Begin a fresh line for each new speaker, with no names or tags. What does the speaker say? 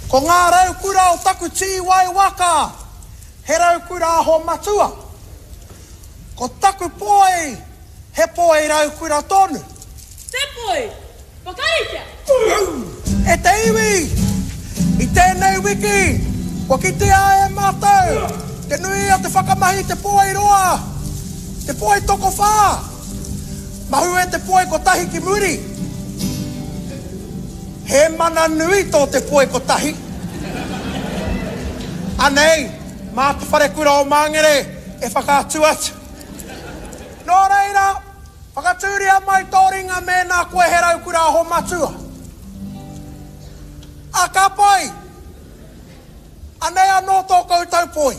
Ko ngā raukura o taku tīwai waka, he raukura aho matua. Ko taku poi, he poi raukura tonu.
Te poi! Whakaritea!
E te iwi! I tēnei wiki, kua kitea e mātou te nui o te whakamahi i te poi roa, te poi tokowhā. Mahue te poi kotahi ki muri. He mana nui tō te poi kotahi. Anei, mā te wharekura o Māngere e whakaatu atu. Nō reira, Whakatūria mai tō ringa mēnā koe he raukura aho matua. A ka pai! Anei anō tō koutou poi.